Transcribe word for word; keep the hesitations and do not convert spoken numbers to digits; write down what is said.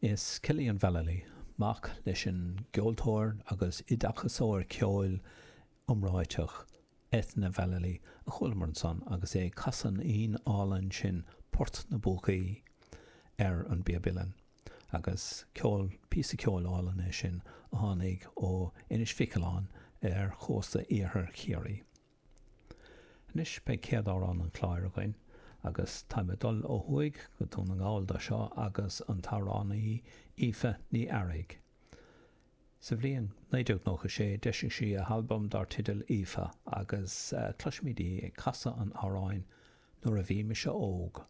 Is Cillian Vallely, mac leis an gceoltóir agus oideachasóir ceoil iomráiteach Eithne Vallely, a chualamar ansan agus é ag casadh an fhoinn álainn sin Port na bPúcaí ar an bpíob uilleann. Agus ceol, píosa ceoil álainn é sin a tháinig ó Inis Mhic Aoláin ar chósta iarthar Chiarraí. Anois beidh céad amhrán an chláir againn agus táim ag dul ó thuaidh go Dún na nGall do seo agus an t-amhránaí Aoife Ní Fhearraigh. Sa bhliain naoi déag nócha sé d'eisigh sí a halbam dar teideal Aoife agus cloisfimid í ag casadh an amhráin Nuair a Bhí Mise Óg.